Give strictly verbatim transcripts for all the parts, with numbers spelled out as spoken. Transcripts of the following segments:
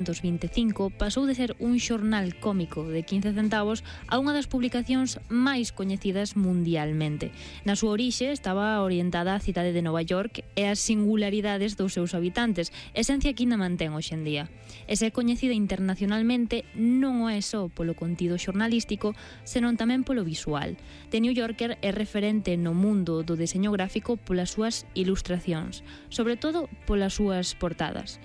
vinte e cinco pasou de ser un xornal cómico de quince centavos a unha das publicacións máis coñecidas mundialmente. Na súa orixe estaba orientada á cidade de Nova York e ás singularidades dos seus habitantes, esencia que ainda mantén hoxe en día. E se é coñecida internacionalmente non o é só polo contido xornalístico, senón tamén polo visual. The New Yorker é referente no mundo do deseño gráfico polas súas ilustracións, sobre todo polas súas portadas.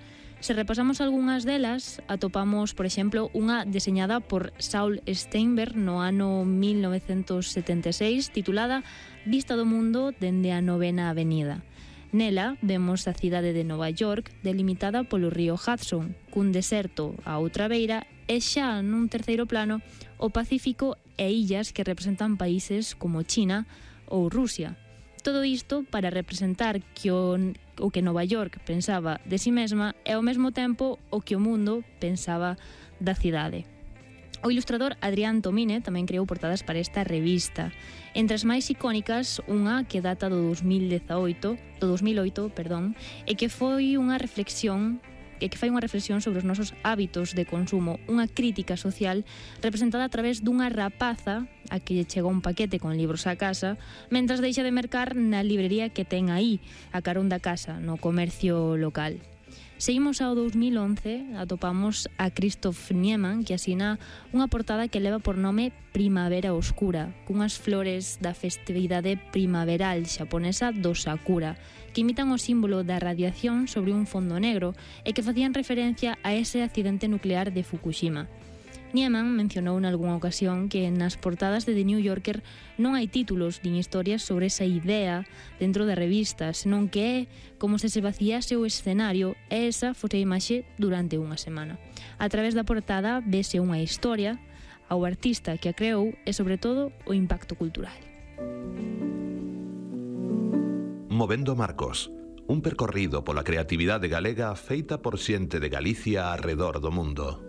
Se repasamos algunhas delas, atopamos, por exemplo, unha deseñada por Saul Steinberg no ano mil novecentos setenta e seis, titulada Vista do mundo dende a novena avenida. Nela vemos a cidade de Nova York delimitada polo río Hudson, cun deserto á outra beira e xa nun terceiro plano o Pacífico e illas que representan países como China ou Rusia. Todo isto para representar que o, o que Nova York pensaba de si mesma e ao mesmo tempo o que o mundo pensaba da cidade. O ilustrador Adrián Tomine tamén creou portadas para esta revista. Entre as máis icónicas, unha que data do dos mil dezaoito, do dos mil oito, perdón, e que foi unha reflexión e que fai unha reflexión sobre os nosos hábitos de consumo, unha crítica social representada a través dunha rapaza a que lle chega un paquete con libros á casa, mentras deixa de mercar na librería que ten aí, a carón da casa, no comercio local. Seguimos ao dos mil once, atopamos a Christoph Niemann, que asina unha portada que leva por nome Primavera Oscura, cunhas flores da festividade primaveral xaponesa do Sakura, que imitan o símbolo da radiación sobre un fondo negro e que facían referencia a ese accidente nuclear de Fukushima. Niemann mencionou nalgúnha ocasión que nas portadas de The New Yorker non hai títulos nin historias sobre esa idea dentro da revista, senón que é como se se vaciase o escenario e esa fose a imaxe durante unha semana. A través da portada vese unha historia, ao artista que a creou e, sobre todo, o impacto cultural. Movendo Marcos, un percorrido pola creatividade galega feita por xente de Galicia arredor do mundo.